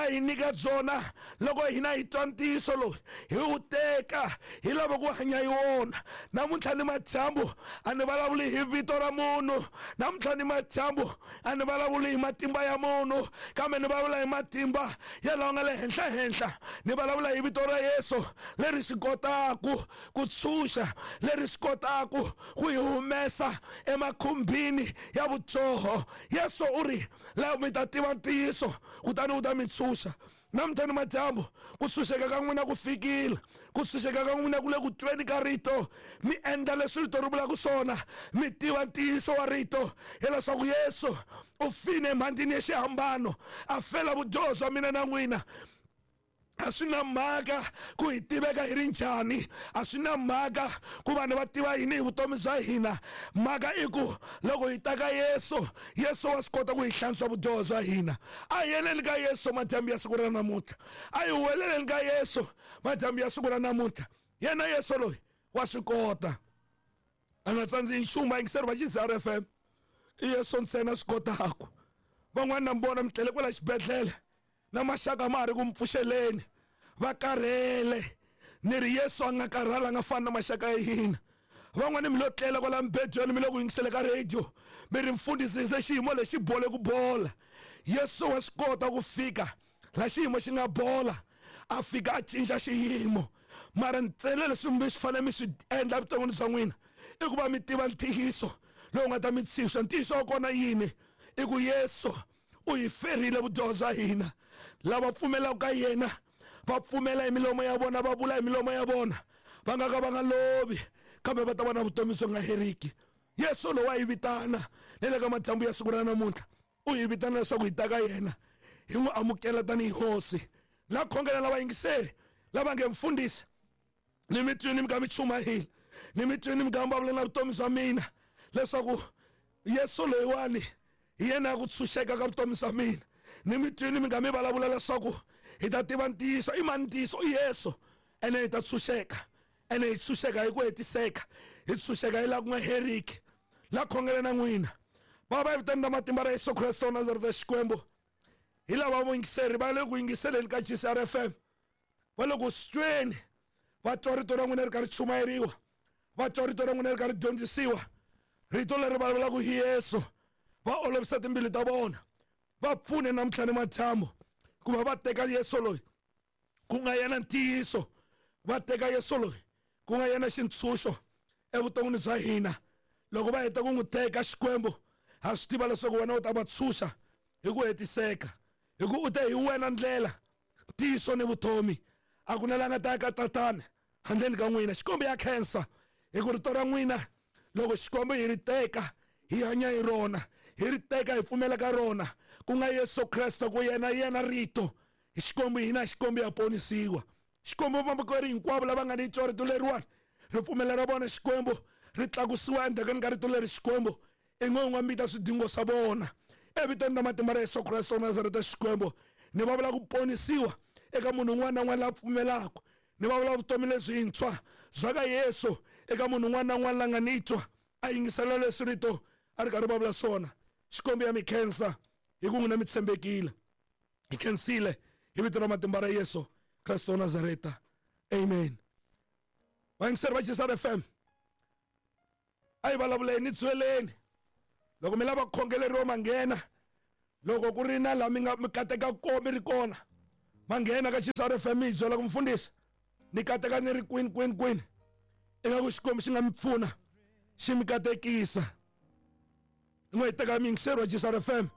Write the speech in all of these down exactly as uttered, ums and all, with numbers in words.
hi nyika byona loko hina hi twa ntiyiso lowu hi wu teka hi lava ku hanya hi wona. Namuntlha ni madyambu a ni vulavuli hi vito ra munhu, namuntlha ni madyambu a ni vulavuli hi matimba ya munhu, kambe ni vulavula hi matimba ya lawa nga le henhla henhla. Ni vulavula hi vito ra Yesu leri swi kotaku ku tshunxa, leri swi kotaku ku hi humesa emakhumbini ya vudyoho. Yesu u ri laha mi ta tiva ntiyiso kutani wu ta mi tshunxa. Namuntlha ni madyambu ku tshunxeka ka n'wina ku fikile, ku tshunxeka ka n'wina ku le ku tweni ka rito. Mi endla leswi rito ri vulaka swona, mi tiva ntiyiso wa rito hileswaku Yesu u file emhandzini ya xihambano a fela vudyoho bya mina na n'wina. A swi na mhaka ku hi tiveka hi ri njhani, a swi na mhaka ku vanhu va tiva yini hi vutomi bya hina. Mhaka i ku loko hi ta ka Yesu, Yesu wa swi kota ku hi hlantswa vudyoho bya hina. A hi yeleni ka Yesu madyambu ya siku ra namuntlha, a hi huweleleni ka Yesu madyambu ya siku ra namuntlha. Yena Yesu loyi wa swi kota, a nga tsandzi nchumu. Vayingiseri va G C R F M, i Yesu ntsena swi kotaku. Van'wana na mi vona mi tlele kwala xibedhlele na maxaka ma ha ri ku mi pfuxeleni, va karhele. Ni ri Yesu a nga karhala, a nga fani na maxaka ya hina. Van'wani mi lo tlela kwala mibedweni, mi le ku yingisele ka radio, mi ri mfundhisi se xiyimo lexi bole ku bola. Yesu wa swi kota ku fika la xiyimo xi nga bola, a fika a cinca xiyimo. Mara ntsena leswi mi swi fanele mi swi endla evuton'wini bya n'wina i ku va mi tiva ntiyiso lowu nga ta mi tshunxa. Ntiyiso wa kona yini? I ku Yesu u hi ferile vudyoho bya hina. Lava pfumelaka ka yena va pfumela hi milomo ya vona, va vula hi milomo ya vona, va nga ka va nga lovi, kambe va ta va na vutomi byo nga heriki. Yesu lowu wa hi vitana ni le ka madyambu ya siku ra namuntlha, u hi vitana leswaku hi ta ka yena hi n'wi amukela tanihi hosi. La khongela lava yingiseri lava nge mfundhisi ni mi twini mi ka mi chumayela, ni mi twini mi ka mi vulavula na vutomi bya mina leswaku Yesu loyiwani hi yena ku tshunxeka ka vutomi bya mina. Ni mi twini mi nga mi vulavula leswaku hi ta tiva ntiyiso. I mani ntiyiso? I Yesu. Ene hi ta tshunxeka, ene hi tshunxeka hi ku hetiseka, hi tshunxeka hi laha ku nga heriki. La khongela na n'wina baba hi vitani ra matimba ra Yesu Kreste wa Nazareta. Xikwembu, hi lava vuyingiseri va le ku yingiseleni ka G C R F M, va le ku swi tweni, va twa rito ra n'wina ri karhi chumayeriwa, va twa rito ra n'wina ri karhi dyondzisiwa, rito leri vulavulaka hi Yesu. Va olovisa timbilu ta vona, va pfune namuntlha ni madyambu ku va va teka Yesu loyi ku nga yena ntiyiso, va teka Yesu loyi ku nga yena xintshunxo evuton'wini bya hina. Loko va heta ku n'wi teka Xikwembu, ha swi tiva leswaku wena u ta va tshunxa hi ku hetiseka, hi ku u te hi wena ndlela, ntiyiso ni vutomi. A ku na la nga ta ya ka Tatana handleni ka n'wina. Xikwembu ya khensa hi ku rito ra n'wina loko Xikwembu hi ri teka hi hanya hi rona, hi ri teka hi pfumela ka rona, ku nga Yesu Kreste, ku yena yena rito. Hi Xikwembu hina Xikwembu ya ponisiwa. Xikwembu vamakwerhu hinkwavo lava nga ni twa rito leriwani, ripfumelo ra vona Xikwembu ri tlakusiwa endzhakeni ka rito leri. Xikwembu i n'we un'we mita swidingo swa vona evitweni ra matimba ra Yesu Kreste wa Nazareta. Xikwembu ni va vula ku ponisiwa eka munhu un'wana na un'wana la pfumelaka, ni va vula vutomi lebyintshwa bya ka Yesu eka munhu un'wana na un'wana la nga ni twa a yingisela leswi rito a ri karhi va vula swona. Xikwembu ya mi khensa hi ku n'wina mi tshembekile. Hi khensile hi vito ra matimba ra Yesu Kreste wa Nazareta. Amen. Vayingiseri va G C R F M, a hi vulavuleni, byeleni loko mi lava ku khongeleriwa ma nghena, loko ku ri na laha mi nga mi kateka ko mi ri kona ma nghena ka G C R F M, mi hi byela ku mfundhisi ni kateka ni ri kwini kwini kwini, ingaku Xikwembu xi nga mi pfuna xi mi katekisa. N'we hi teka muyingiseri wa G C R F M.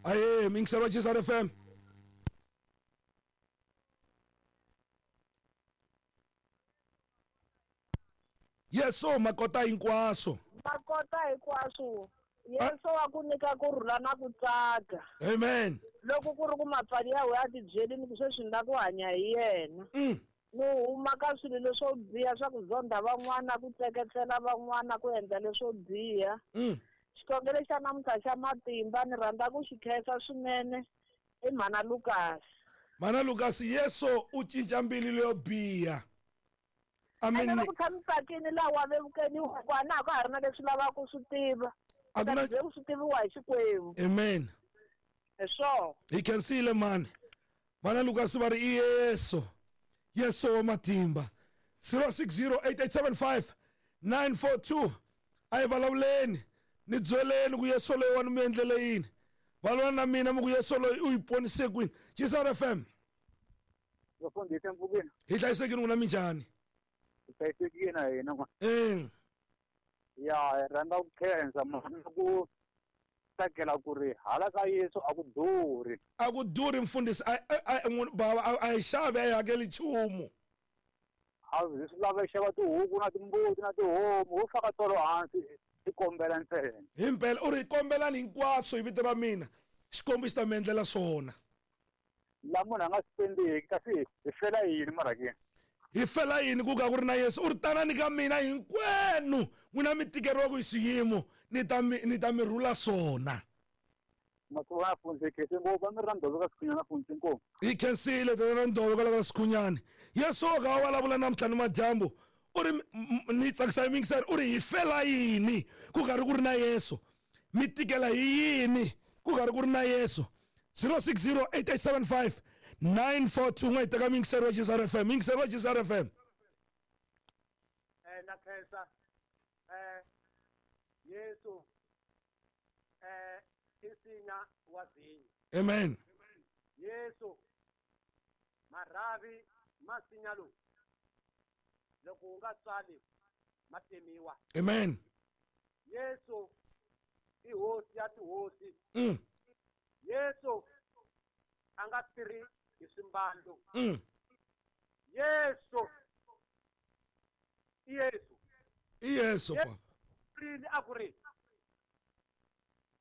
Aye, muyingiseri wa G C R F M. Yesu makota hinkwaswo, makota hinkwaswo. Yesu wa ku nyika ku rhula na ku tsaka. Amen. Loko ku ri ku mapfali ya wena a tibyeli ni ku sweswi ni lava ku hanya hi yena, ni huma ka swilo leswo biha swa ku zonda van'wana, ku tseketsela van'wana, ku endla leswo biha. Xikhongelo xa namuntlha xa matimba ni rhandza ku xi khensa swinene i mhana Lucas. Mhana Lucas, Yesu u cinca mbilu leyo biha. Amen. Ene loko tshami tsakini laha wa vevukeni ku a na ha ka ha ri na leswi lavaka ku swi tiva, A ku na ku swi tiviwa hi Xikwembu. Amen. Hi swona. Hi khensile mani. Vana Lucas va ri i Yesu. Yesu wa matimba. zero six zero eight eight seven five nine four two. A hi vulavuleni. Ni byeleni ku Yesu loyi wa ni mi endlele yini. Valwana na mina mi ku Yesu loyi u yi ponise kwini. Chisar F M. Vafundhisi mpfukeni. Hi hlayisekile n'wina minjhani? Hi hlayisekile na hina n'wana. Eh. Ya, hi rhandza ku khensa mhana ku tsakela ku ri hala ka Yesu a ku durhi. A ku durhi mfundhisi, a a baba a hi xavi a hi hakeli nchumu. A hi swi lava xava tihuku na timbuti na tihomu, ho faka tolo hansi hi kombela ntsena. Himpela u ri kombelani hinkwaswo hi vito ra mina, Xikwembu xi ta mi endlela swona. La munhu a nga spendeki kasi hi fela yini mara ke? Hi fela yini ku ka ku ri na Yesu? U ri tanani ka mina hinkwenu n'wina mi tikeriwaka hi swiyimo, ni ta mi ni ta mi rhula swona. Masuva fundzekese ngopfu, a mi ri na ndzovo ka Sikhunyana fundzi ngopfu. Hi khensile tatana Ndzovo kwala ka Sikhunyana. Yesu ka wa vulavula namuntlha ni madyambu, u ri ni tsakisa yingiseri, u ri hi fela yini ku karhi ku ri na Yesu? Mi tikela hi yini ku karhi ku ri na Yesu? zero six zero eight eight seven five nine four two. N'we teka yingiseri wa Chisar F M. Yingiseri wa Chisar F M. Eh na khensa eh Yesu eh isinya wa vinyo. Amen. Yesu marhavi masinya lowu loko u nga tswali ma temiwa. Amen. Yesu i hosi ya tihosi. Mm. Yesu a nga tirhi hi swimbalo. Mm. Yesu i Yesu. I Yesu papa. Rini a ku ri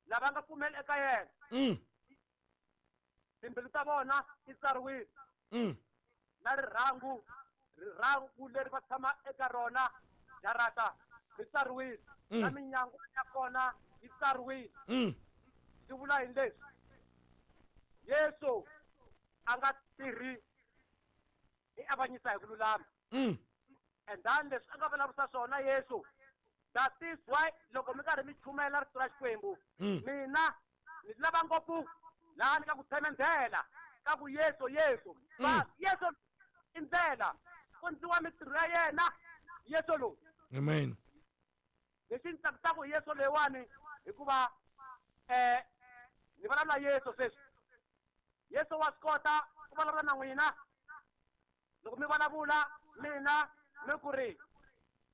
lava nga pfumela eka yena. Mm. Timbilu ta vona ti tsariwile. Mm. Na rirhangu, rirhangu leri va tshama eka rona jarata ri tsariwile. Na minyango ya kona yi tsariwile. Mm. Swi vula yini leswi? Yesu a nga tirhi i avanyisa hi ku lulama. Mm. And then leswi a nga vulavurisa swona Yesu, that is why loko mi karhi mi chumayela rito ra Xikwembu, mina ni lava ngopfu laha ni ka ku tshemendela ka ku Yesu Yesu. Va Yesu i ndlela, ku ndliwa mintirho ya yena Yesu lowu. Amen. Lexi ni tsakisaka hi Yesu leyiwani hikuva eh ni vulavula Yesu sweswi. Yesu wa swi kota ku vulavula na n'wina. Loko mi vulavula mina mi ku ri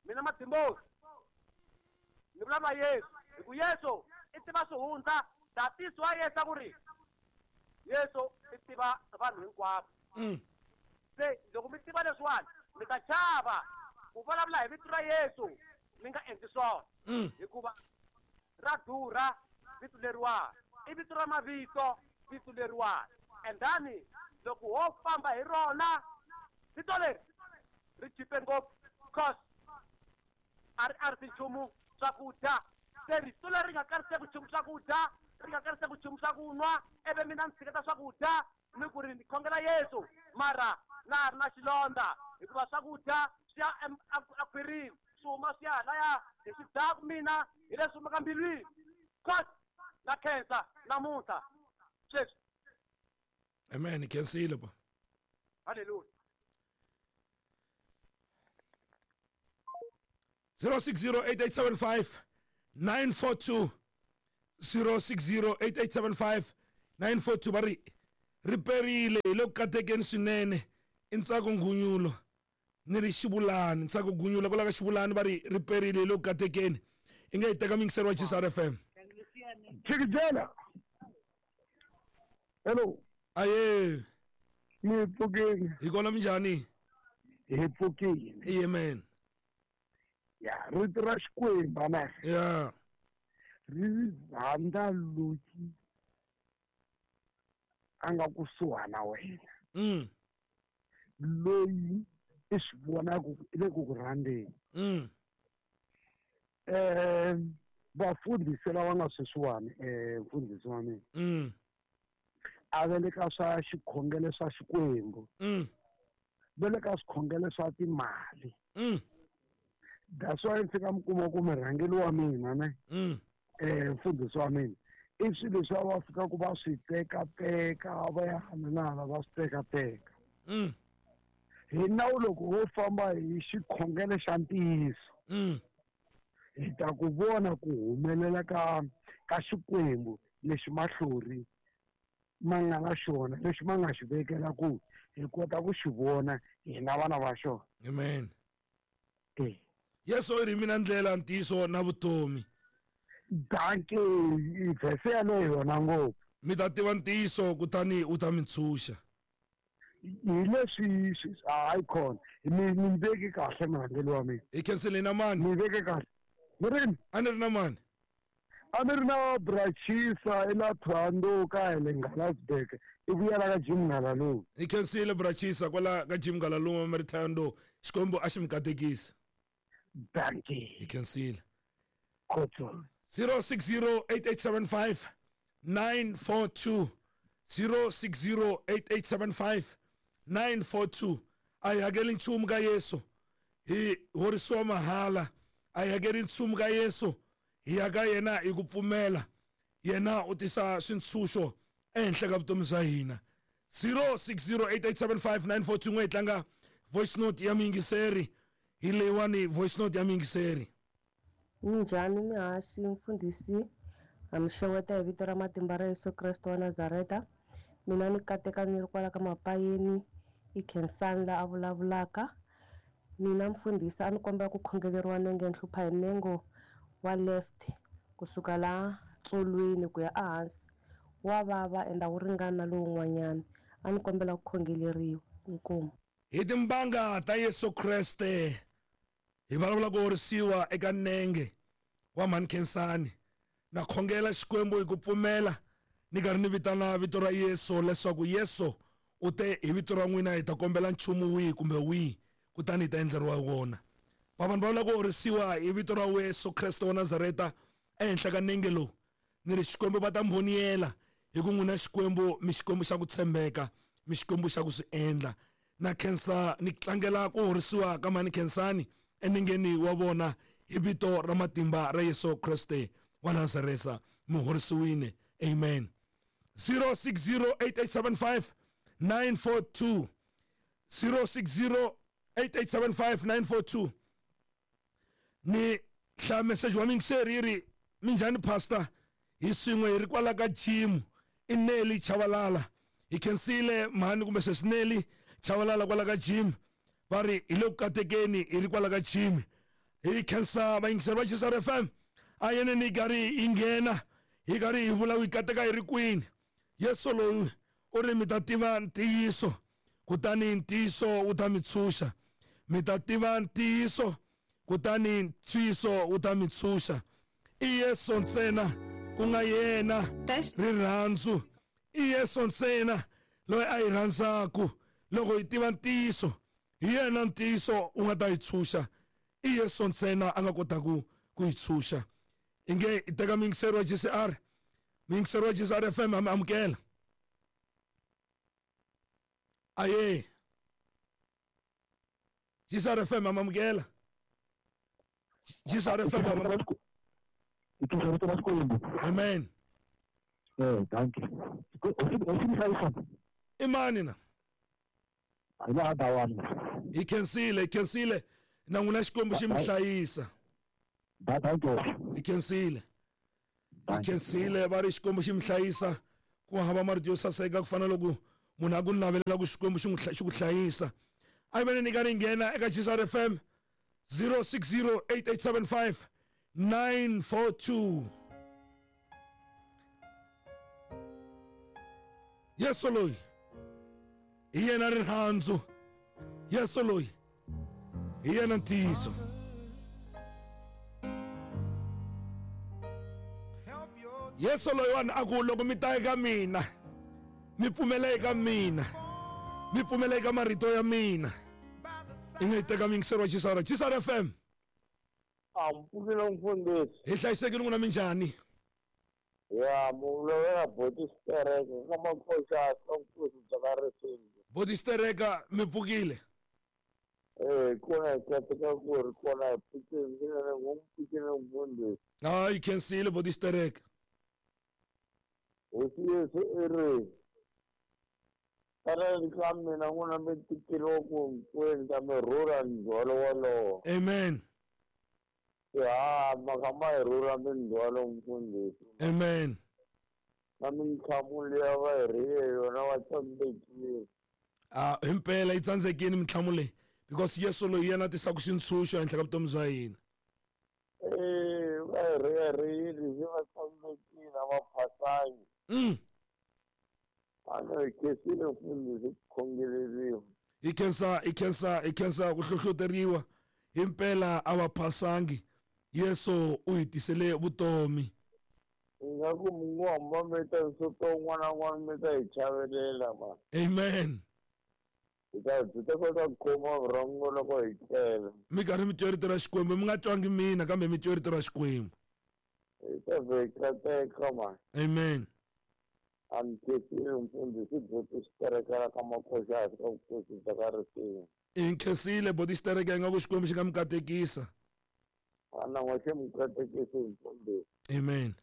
mina Matimbosi ni vulavula Yesu, hi ku Yesu i tiva swihundla. That is why Yesu a ku ri Yesu i tiva vanhu hinkwavo. Mm. Se loko mi tiva leswiwani mi ta chava ku vulavula hi vito ra Yesu mi nga endli swona. Mm. Hikuva ra durha vito leriwani, i vito ra mavito vito leriwani. And then loko ho famba hi rona vito leri ri chipe ngopfu, cause a ri a ri nchumu swakudya. Se rito leri nga kariseki nchumu swakudya, ri nga kariseki nchumu swa ku nwa, ivi mina ni tshiketa swakudya ni ku ri ni khongela Yesu, mara na ha ri na xilondza hikuva swakudya swi ya akhwirini, swi huma swi ya halaya hi swi dyaku mina hi leswi humaka mbilwini. Cause na khensa namuntlha sweswi. Amen. Khensile pa. Hallelujah. zero six zero eight eight seven five nine four two. zero six zero eight eight seven five nine four two. Va ri ri perile hi le ku katekeni swinene i Ntsako Ngunyulo ni ri Xivulani. Ntsako Ngunyulo kwala ka Xivulani va ri ri perile hi le ku katekeni. I nga yi teka mingiseri wa Chisar F M. Chikijela. Hello. Aye. Ni pfukile. Hi kona minjhani? Hi pfukile. Amen. Ya, rito ra Xikwembu na. Ya. Ri rhandza loyi a nga kusuhana wena. Mm. Loyi i swi vonaka ku i le ku ku rhandzeni. Mm. Eh vafundhisi lava nga sweswiwani, eh mfundhisi wa mina. Mm. A va le ka swa xikhongelo swa Xikwembu. Mm. Va le ka swikhongelo swa timali. Mm. That's why ndzi fika mi kuma ku murhangeri wa mina ne. Mm. Eh mfundhisi wa mina I swilo leswi va fikaka va swi tekateka va ya hala na hala va swi tekateka. Mm. Hi nawu loko wo famba hi xikhongelo xa ntiyiso, Mm. hi ta ku vona ku humelela ka ka Xikwembu lexi mahlori ma nga na xona, lexi ma nga xi vekela ku hi kota ku xi vona hina vana va xona. Amen. Eh. Yesu i ri mina ndlela, ntiyiso na vutomi. Dankie, vhese yaleyo yona ngopfu. Mi ta tiva ntiyiso kutani u ta mi ntshunxa. Hi leswi hayi khona mi mi veki kahle murhangeri wa mina. Hi khensile na mani? Mi veke kahle. Mi rini? A ni ri na mani? A ni ri na Brachisa ela Thohoyandou ka hi le Ngalasburg. I vuyela ka Jim Ngalalume. Hi khensile Brachisa kwala ka Jim Ngalalume mi ri Thohoyandou. Xikwembu a xi mi katekisi. Dankie. Hi khensile. Khotso. zero six zero eight eight seven five nine four two zero six zero eight eight seven five nine four two. A hi hakeli nchumu ka Yesu, hi horisiwa mahala. A hi hakeli nchumu ka Yesu, hi ya ka yena hi ku pfumela. Yena u tisa swintshunxo ehenhla ka vutomi bya hina. zero six zero eight eight seven five nine four two. N'we hi tlanga voice note ya muyingiseri. Hi leyiwani voice note ya muyingiseri. Minjhani mihaswi mfundhisi, ha mi xeweta hi vito ra matimba ra Yesu Kreste wa Nazareta. Mina ni kateka ni ri kwala ka Mapayeni, i Khensani la a vulavulaka. Mina mfundhisi a ni kombela ku khongeleriwa nenge ni hlupha hi nengo wa left kusuka la tsolweni ku ya ehansi, wa vava ende a wu ringani na lowun'wanyana. A ni kombela ku khongeleriwa. Inkomu. Hi timbanga ta Yesu Kreste hi vulavula ku horisiwa eka nenge wa mhani Khensani. Na khongela Xikwembu hi ku pfumela ni karhi ni vitana vito ra Yesu leswaku Yesu u te hi vito ra n'wina hi ta kombela nchumu wihi kumbe wihi kutani hi ta endleriwa wona. Va vanhu va vula ku horisiwa hi vito ra Yesu Kreste wa Nazareta ehenhla ka nenge lowu. Ni ri Xikwembu va ta mboniyela hi ku n'wina Xikwembu mi Xikwembu xa ku tshembeka, mi Xikwembu xa ku swi endla. Na khensa ni tlangela ku horisiwa ka mhani Khensani enengeni wa vona hi vito ra matimba ra Yesu Kreste wa Nazareta. Mi horisiwile. Amen. zero six zero eight eight seven five nine four two zero six zero eight eight seven five nine four two. Ni hlaya message wa muyingiseri yi ri minjhani pastor, hi swin'we hi ri kwala ka gym i Nelly Chavalala. Hi khensile mhani kumbe sweswi Nelly Chavalala kwala ka gym. Va ri hi le ku katekeni hi ri kwala ka gym. Hi khensa vayingiseri va G C R F M. A yeneni hi karhi hi nghena hi karhi hi vula ku hi kateka hi ri kwini. Yesu loyi u ri mi ta tiva ntiyiso kutani ntiyiso wu ta mi tshunxa. Mi ta tiva ntiyiso kutani ntiyiso wu ta mi tshunxa. I Yesu ntsena ku nga yena rirhandzu. I Yesu ntsena loyi a hi rhandzaku. Loko hi tiva ntiyiso, hi yena ntiyiso wu nga ta hi tshunxa. I Yesu ntsena a nga kota ku ku hi tshunxa. Inge hi teka muyingiseri wa G C R, muyingiseri wa G C R F M ha mi amukela. Aye. G C R F M ha mi amukela. G C R F M ha mi amukela. Amen. Eh, dankie. I mani na? Hi khensile, hi khensile. Na n'wina Xikwembu xi mi hlayisa. Hi khensile. Hi khensile va ri Xikwembu xi mi hlayisa. Ku hava marito yo saseka ku fana loko munhu a ku navelela ku Xikwembu xi n'wi xi ku hlayisa. A hi veni ni karhi hi nghena eka G C R F M zero six zero eight eight seven five nine four two. Yesu loyi hi yena rirhandzu. Yesu loyi hi yena ntiyiso. Yesu loyiwani a ku loko mi ta eka mina, mi pfumela eka mina, mi pfumela eka marito ya mina. I nga yi teka muyingiseri wa G C R, G C R F M. A mpfukile mfundhisi. Hi hlayisekile n'wina minjhani? Ya muvulavula Boti Stereka ka Makoxa ka Nkosi bya ka Risingi. Boti Stereka mi pfukile? Eh, kona hi kateka ku ri kona hi pfukile swinene ngo pfukile mfundhisi. Hayi khensile Boti Stereka. Hosi Yesu i ri tanani ka mina n'wina mi tikeriwa ku hinkwenu ta mi rhurha ndzhwalo wolowo. Amen. Ya maka ma hi rhurha mindzhwalo mfundhisi. Amen. Na mintlhamu liya va hi rhiye yona va tsandzekile. Ah, himpela yi tsandzekile mintlhamu leyi because Yesu loyi yena a tisaka xintshunxo ehenhla ka vutomi bya hina. Eh, va hi rhiya rhiyile se va tsandzekile a va phasangi. Mm. A no hi khensile mfundhisi ku khongeleriwa. Hi khensa hi khensa hi khensa ku hlohloteriwa himpela a va phasangi. Yesu u hi tisele vutomi. Ingaku Mungu hamba mi ta nsuto un'wana na un'wana mi ta hi chavelela ma. Amen. Hi ta byi ta kota ku khoma vurhongo loko hi tlela. Mi karhi mi twa rito ra Xikwembu, mi nga twangi mina kambe mi twa rito ra Xikwembu. Hi ta vhe hi kateka ma. Amen. A ni khensile mfundhisi boti xiterekela ka makoxa hansi ka vukosi bya ka risimu. Hi nkhensile boti xitereka ingaku Xikwembu xi nga mi katekisa. A na n'we xi mi katekisi mfundhisi. Amen.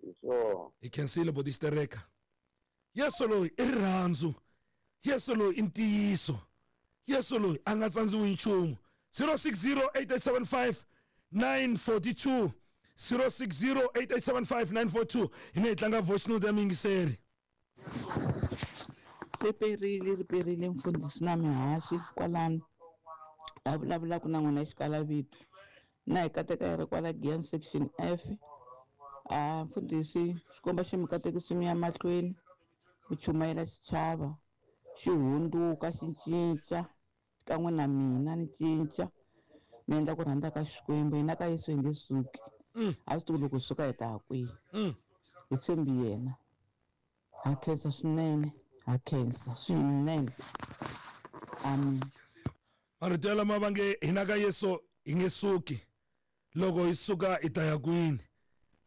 Hi swona. Hi khensile boti xitereka. Yesu loyi i rirhandzu. Yesu loyi i ntiyiso. Yesu loyi a nga tsandziwi nchumu. zero six zero eight eight seven five nine four two zero six zero eight eight seven five nine four two. Hi ne hi tlanga voice note ya muyingiseri. Ri perile ri perile mfundhisi na mihaxi kwalano a vulavulaka na n'wina xikalavito na hi kateka hi ri kwala Giyani section F. A mfundhisi xikomba xi mi katekisi mi ya mahlweni ku chumayela xichava xi hundzuka xi cinca kan'we na mina ni cinca ni endla ku rhandza ka Xikwembu. Hina ka Yesu hi nge suki. A swi tivi loko hi suka hi ta ya kwihi. Hi tshembi yena. Ha khensa swinene, ha khensa swinene. Amen. Marito lama va nge hina ka Yesu hi nge suki, loko hi suka hi ta ya kwini.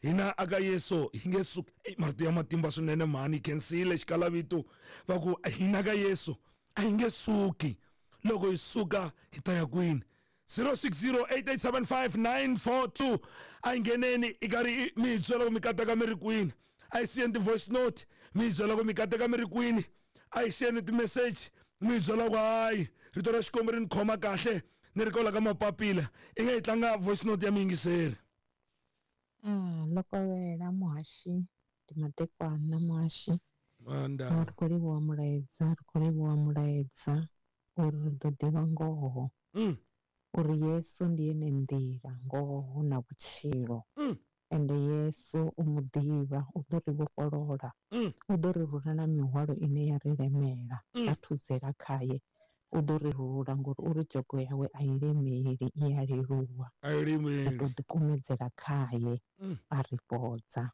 Hina aka Yesu hi nge suki. Ey, marito ya matimba swinene mhani, hi khensile xikalavito va ku hina ka Yesu a hi nge suki, loko hi suka hi ta ya kwini. zero six zero eight eight seven five nine four two. A hi ngheneni i karhi mi hi byela ku mi kateka mi ri kwini. A hi siyeni ti-voice note mi hi byela ku mi kateka mi ri kwini. A hi siyeni ti-message mi hi byela ku hayi rito ra Xikwembu ri ni khoma kahle ni ri kwala ka mapapila. I nga hi tlanga voice note ya muyingiseri. Ah, loko wela muhaxi ndi madekwana muhaxi. Manda. Ri khou livhuwa mulaedza, ri khou livhuwa mulaedza uri ri ḓo ḓivha ngoho. Mm. Uri Yesu ndi ene nḓila, ngoho na vhutshilo. Mm. Ende Yesu u mu ḓivha, u ḓo ri vhofholola. Mm. U ḓo ri rula na mihwalo ine ya ri lemela. Mm. Ra thuzela khaye. U ḓo ri rula ngori uri dzhogo yawe a i lemeli, i a leluwa. A i lemeli. Ri ḓo ḓikumedzela khaye Mm. a ri fhodza.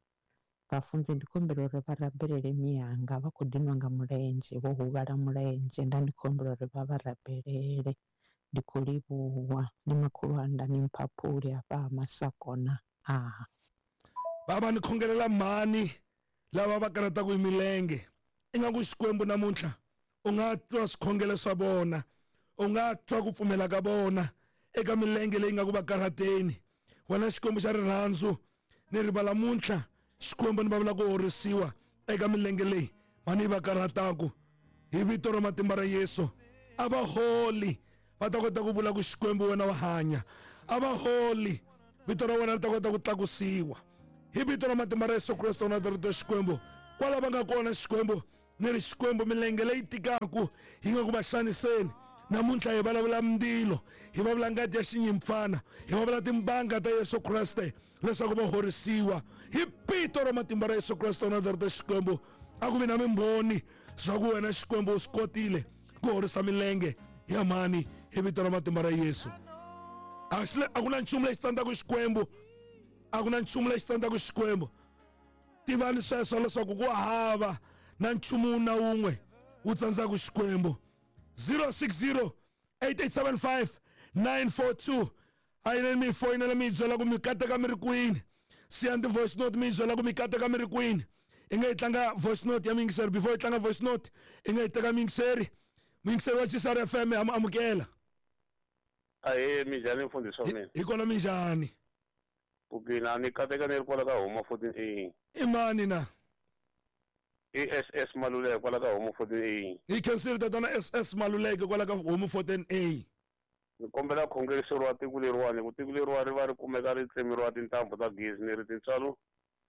Vhafunzi ndi khombela uri vha rabelele miyanga, vha khou dinwa nga mulenzhe, vho huvhala mulenzhe, nda ndi khombela uri vha vha rabelele. Ndi khou livhuwa, ndi makhulu anda ni mphaphuli hafha ha Masakona. Ah. Baba ni khongelela mhani lava va karhataka hi milenge. Ingaku Xikwembu namuntlha u nga twa swikhongelo swa vona, u nga twa ku pfumela ka vona eka milenge leyi nga ku va karhateni. Wena Xikwembu xa rirhandzu, ni rivala muntlha Xikwembu ni va vula ku horisiwa eka milenge leyi mhani yi va karhataka. Hi vito ra matimba ra Yesu, a va holi va ta kota ku vula ku Xikwembu wena wa hanya. A va holi, vito ra wena ri ta kota ku tlakusiwa. Hi vito ra matimba ra Yesu Kreste wa Nazareta Xikwembu, kwala va nga kona Xikwembu ni ri Xikwembu milenge leyi tikaku yi nga ku va xaniseni namuntlha hi vulavula mindzilo, hi vulavula ngati ya xinyimpfana, hi vulavula timbanga ta Yesu Kreste leswaku va horisiwa. Hi vito ra matimba ra Yesu Kreste wa Nazareta Xikwembu, a ku vi na mimbhoni swa ku wena Xikwembu u swi kotile ku horisa milenge ya mhani hi vito ra matimba ra Yesu. A swi a ku na nchumu lexi tsandzaka Xikwembu, a ku na nchumu lexi tsandzaka Xikwembu. Tivani sweswo leswaku ku hava na nchumu na wun'we wu tsandzaka Xikwembu. zero six zero eight eight seven five nine four two. A yi mi foyinela mi hi byela ku mi kateka mi ri kwini. Siyani ti-voice note mi hi byela ku mi kateka mi ri kwini. I nga yi tlanga voice note ya muyingiseri. Before yi tlanga voice note, i nga yi teka muyingiseri. Muyingiseri wa G S R F M ha mu amukela. Ahee, minjhani mfundhisi wa mina? Hi kona minjhani? Pfukile, a ni kateka ni ri kwala ka Homa fourteen A. I mani na? I S S Maluleke kwala ka Homo fourteen A. Hi khensile tatana S S Maluleke kwala ka Homo fourteen A. Ni kombela khongeriseriwa tiko leriwani ku tiko leriwani ri va ri kumeka ri tsemeriwa tintambu ta gezi ni ri tintswalo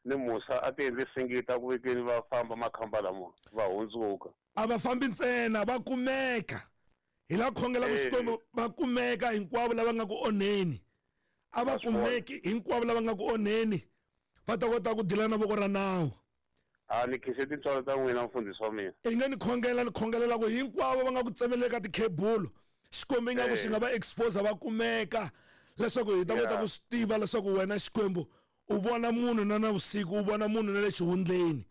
ni musa a ti endli singita ku vekeni va famba makhamba lama va hundzuka. A va fambi ntsena va kumeka. Hi la khongela ku Xikwembu va kumeka hinkwavo lava nga ku onheni. A va kumeki hinkwavo lava nga ku onheni va ta kota ku dila na voko ra nawu. A ni khise tintswalo ta n'wina mfundhisi wa mina. I nga ni khongela ni khongelela ku hinkwavo va nga ku tsemeleka tikhebulu Xikwembu ingaku xi nga va expose va kumeka leswaku hi ta kota ku swi tiva leswaku wena Xikwembu u vona munhu na na vusiku u vona munhu na le xihundleni.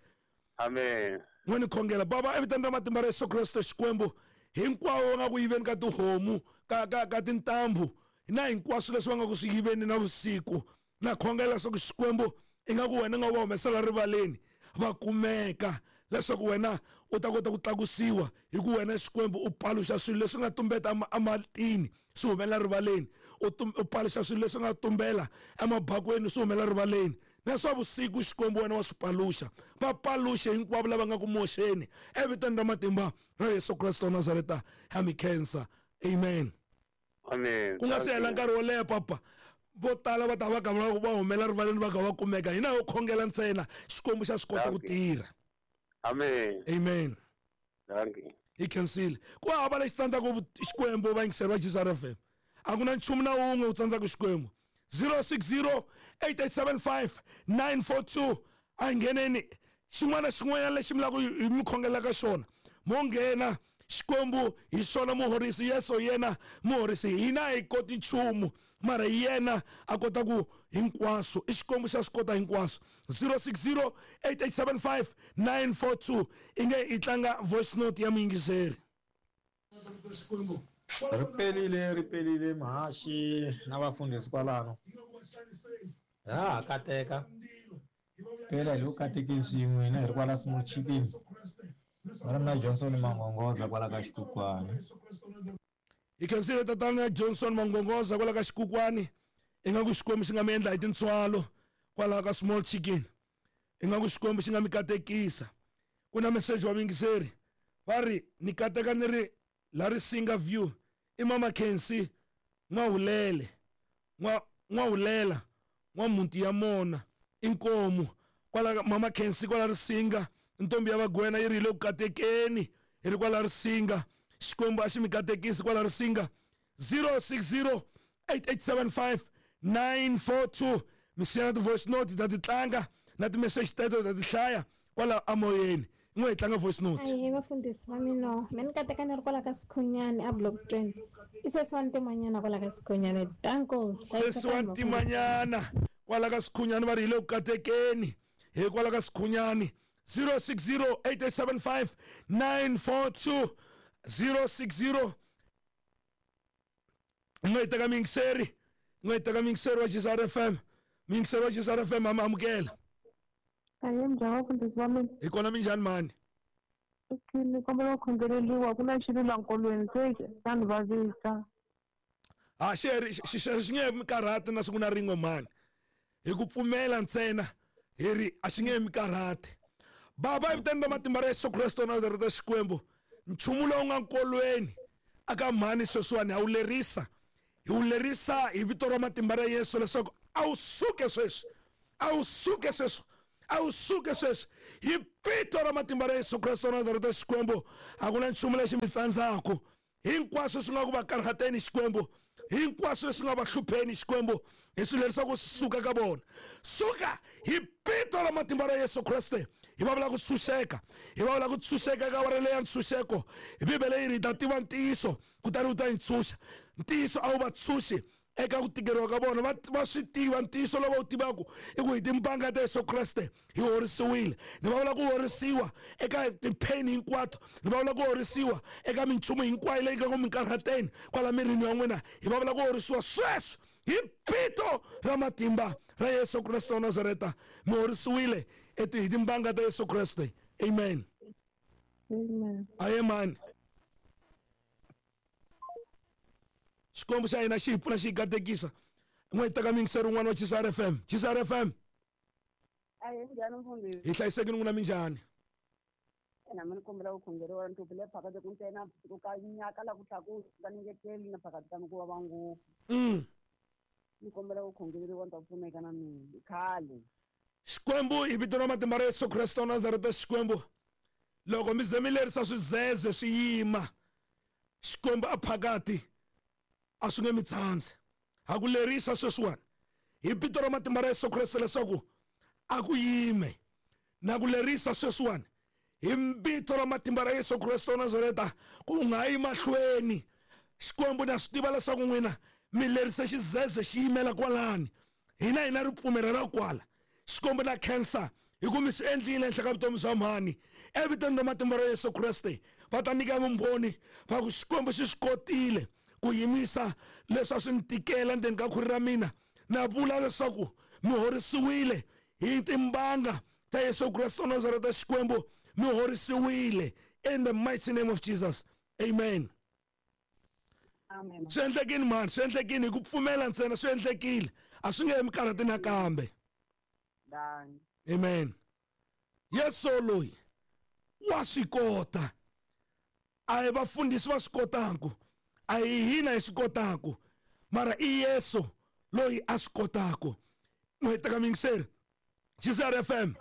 Amen. N'we ni khongela baba evitani ra matimba ra Yesu Kreste Xikwembu hinkwavo va nga ku yiveni ka tihomu ka ka ka tintambu na hinkwaswo leswi va nga ku swi yiveni na vusiku na khongela leswaku Xikwembu ingaku wena nga va humesela rivaleni va kumeka leswaku wena u ta kota ku tlakusiwa hi ku wena Xikwembu u paluxa swilo leswi nga tumbeta ematini swi humela rivaleni u paluxa swilo leswi nga tumbela emabakweni swi humela rivaleni na swa vusiku Xikwembu wena wa swi paluxa va paluxe hinkwavo lava nga ku moxeni evitani ra matimba ra Yesu Kreste wa Nazareta ha mi khensa. Amen. Amen. Ku nga si hela nkarhi wo leha papa vo tala va ta va ka va humela rivaleni va ka va kumeka hina ho khongela ntsena Xikwembu xa swi kota ku tirha. Amen. Amen. Thank you. Hi khensile. Ku hava lexi tsandzaka Xikwembu va yingiseri va Jesus F M. A ku na nchumu na wun'we wu tsandzaka Xikwembu. zero six zero eight eight seven five nine four two a ngheneni xin'wana xin'wanyana lexi mi lava ku mi khongela ka xona mo nghena Xikwembu hi xona muhorisi Yesu yena muhorisi hina hi koti nchumu mara yena a kota ku hinkwaswo i Xikwembu xa swi kota hinkwaswo. zero six zero eight eight seven five nine four two i nge i tlanga voice note ya muyingiseri. Ri pelile ri pelile muhaxi na vafundhisi kwalano ha ha kateka phela hi lo katekeni swin'we hina hi ri kwala Small Chicken va ri na Johnson Mangongoza kwala ka Xikukwani. Hi khensile tatana Johnson Mangongoza kwala ka Xikukwani ingaku Xikwembu xi nga mi endla hi tintswalo kwala ka Small Chicken ingaku Xikwembu xi nga mi katekisa. Ku na message wa muyingiseri va ri ni kateka ni ri la Risinga View i Mama Khensi N'wahulele n'wa N'wahulela n'wa muti ya mona inkomu kwala Mama Khensi kwala Risinga ntombi ya vagwena yi ri le ku katekeni hi ri kwala Risinga Xikwembu a xi mi katekisi kwala Risinga. zero six zero eight eight seven five nine four two mi siya na ti-voice note ta ti tlanga na ti-message teto ta ti hlaya kwala amoyeni n'we hi tlanga voice note. Ahe vafundhisi va mina me ni kateka ni ri kwala ka Sikhunyani a block twenty i sesi wa Ntimanyana kwala ka Sikhunyani danko. Sesi wa Ntimanyana kwala ka Sikhunyani va ri hi le ku katekeni hi kwala ka Sikhunyani. zero six zero eight eight seven five nine four two zero six zero n'we hi teka muyingiseri n'we hi teka muyingiseri wa Jesus F M muyingiseri wa Jesus F M amukela. Ahe njhani vafundhisi va mina? Hi kona minjhani mani? Ni kombela ku khongeleriwa ku na xilo la nkolweni se xa ni vavisa. A xi xi nge mi karhati na siku na rin'we mani hi ku pfumela ntsena hi ri a xi nge mi karhati. Baba evitani ra matimba ra Yesu Kreste wa Nazareta Xikwembu nchumu lowu nga nkolweni aka mhani sweswiwani ha wu lerisa hi wu lerisa hi vito ra matimba ra Yesu leswaku a wu suke sweswi a wu suke sweswi a wu suke sweswi hi vito ra matimba ra Yesu Kreste wa Nazareta Xikwembu a ku na nchumu lexi mi tsandzaku hinkwaswo swi nga ku va karhateni Xikwembu hinkwaswo leswi nga va hlupheni Xikwembu hi swi lerisa ku suka ka vona suka hi vito ra matimba ra Yesu Kreste. Hi va vula ku tshunxeka hi va vula ku tshunxeka ka wara leya ntshunxeko hi Bibele yi ri hi ta tiva ntiyiso kutani wu ta hi ntshunxa ntiyiso a wu va tshunxi eka ku tikeriwa ka vona va va swi tiva ntiyiso lowu va wu tivaka i ku hi timbanga ta Yesu Kreste hi horisiwile ni va vula ku horisiwa eka ti-pain hinkwato ni va vula ku horisiwa eka minchumu hinkwayo leyi nga ku minkarhateni kwala mirini ya n'wina hi va vula ku horisiwa sweswi hi vito ra matimba ra Yesu Kreste wa Nazareta mi horisiwile hi timbanga ta Yesu Kreste. Amen. Amen. Aye mani Xikwembu xa hina xi hi pfuna xi hi katekisa n'we hi teka muyingiseri un'wana wa Jesus F M. Jesus F M. Ahe njhani mfundhisi? Hi hlayisekile n'wina minjhani? Na mina kombela ku khongeriwa ni hluphi le phakati ku ntsena ku ka nyaka la ku tlakuka ni ngeteli na phakati ka ku vava ngopfu. Mm. Ni kombela ku khongeriwa ni ta pfuneka na mina. Khale. Xikwembu hi vito ra matimba ra Yesu Kreste wa Nazareta Xikwembu loko mi ze mi lerisa swizeze swi yima Xikwembu a phakati a swi nge mi tsandzi ha ku lerisa sweswiwani hi vito ra matimba ra Yesu Kreste leswaku a ku yime na ku lerisa sweswiwani hi vito ra matimba ra Yesu Kreste wa Nazareta ku nga yi mahlweni Xikwembu na swi tiva leswaku n'wina mi lerise xizeze xi yimela kwalani hina hina ripfumelo ra kwala Xikwembu na cancer hi ku mi swi endlile ehenhla ka vutomi bya mhani evitweni ra matimba ra Yesu Kreste va ta nyika vumbhoni va ku Xikwembu xi swi kotile ku yimisa leswi a swi ni tikela ndzeni ka khwiri ra mina na vula leswaku mi horisiwile hi timbanga ta Yesu Kreste wa Nazareta Xikwembu mi horisiwile in the mighty name of Jesus amen. Amen. Swi endlekile mhani swi endlekile hi ku pfumela ntsena swi endlekile a swi nge he mi karhati nakambe. Amen. Yesu loyi wa swi kota a hi vafundhisi va swi kotaku a hi hina hi swi kotaku mara i Yesu loyi a swi kotaku. N'hweti ka mingiseri G C R F M.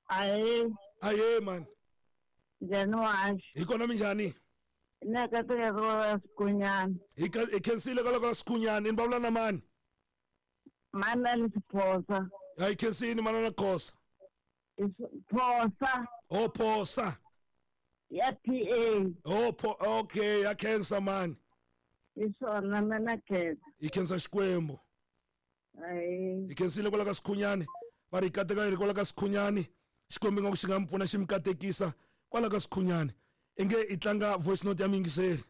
Ahe. Ahe man. Njhani wa? Hi kona minjhani? Na ka teka ra Sikhunyana. Hi ka hi khensile ka loko Sikhunyana ni vulavula na mani? Manana Phosa. Hayi khensini manana Khosa. Phosa. Oh Phosa. Ya P A. Oh po okay ya khensa mani. Hi swona mina khensa. Hi khensa Xikwembu. Ayi. Hi khensile kwala ka Sikhunyana. Va ri kateka ri kwala ka Sikhunyana. Xikwembu nga ku xi nga mi pfuna xi mi katekisa kwala ka Sikhunyana. Inge i tlanga voice note ya miyingiseri.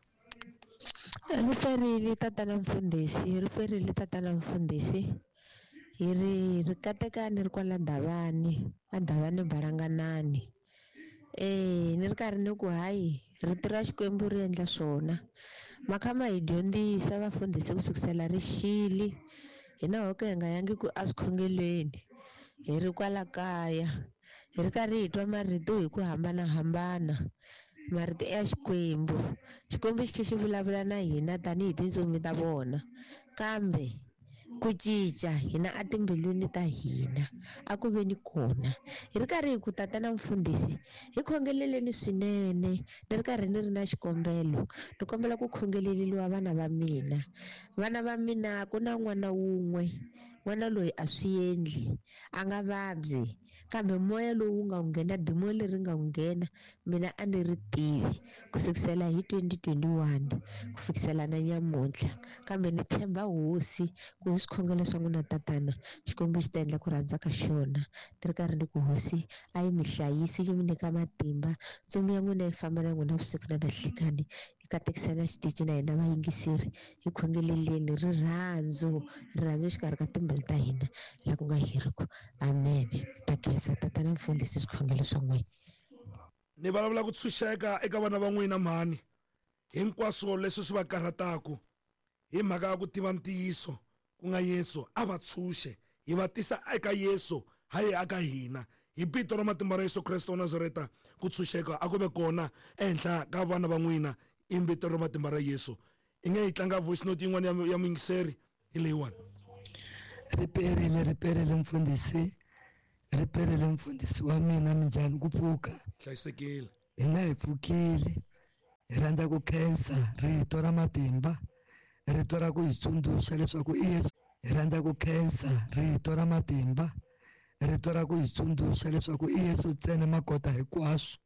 Ri perile tatana mfundhisi, ri perile tatana mfundhisi. Hi ri ri katekani ri kwala Davani, a Davani Balanganani. Eh, ni ri karhi ni ku hayi rito ra Xikwembu ri endla swona. Makhama hi dyondzisa vafundhisi ku sukusela rixili. Hina ho ka hi nga yangi ku a swikhongelweni. Hi ri kwala kaya. Hi ri karhi hi twa marito hi ku hambanahambana. Marito ya Xikwembu. Xikwembu xi khe xi vulavula na hina tanihi tintsumi ta vona. Kambe ku cinca hina etimbilwini ta hina a ku ve ni kona. Hi ri karhi hi ku tatana mfundhisi hi khongeleleni swinene ni ri karhi ni ri na xikombelo ni kombela ku khongeleliwa vana va mina. Vana va mina ku na n'wana wun'we n'wana loyi a swi endli a nga vabyi kambe moya lowu nga nghena dimoni leri nga nghena mina a ni ri tivi ku sukisela hi twenty twenty-one ku fikisela na nyamuntlha kambe ni tshemba hosi ku hi swikhongelo swa n'wina tatana Xikwembu xi ta endla ku rhandza ka xona ni ri karhi ni ku hosi a yi mi hlayisi yi mi nyika matimba ntsumi ya n'wina yi famba na n'wina vusiku na nhlikani yi katekisa na xitichi na hina vayingiseri hi khongeleleni rirhandzu rirhandzu exikarhi ka timbilu ta hina la ku nga heriki amen. Ta khensa tatana mfundhisi swikhongelo swa n'wina. Ni vulavula ku tshunxeka eka vana va n'wina mhani hinkwaswo leswi swi va karhataku hi mhaka ya ku tiva ntiyiso ku nga Yesu a va tshunxe hi va tisa eka Yesu hayi aka hina hi vito ra matimba ra Yesu Kreste wa Nazareta ku tshunxeka a ku ve kona ehenhla ka vana va n'wina i vito ra matimba ra Yesu. I nge hi tlanga voice note yin'wana ya ya muyingiseri hi leyiwani. Ri perile ri perile mfundhisi ri perile mfundhisi wa mina minjhani ku pfuka hlayisekile hina hi pfukile hi rhandza ku khensa rito ra matimba rito ra ku hi tsundzuxa leswaku i Yesu hi rhandza ku khensa rito ra matimba rito ra ku hi tsundzuxa leswaku i Yesu ntsena makota hinkwaswo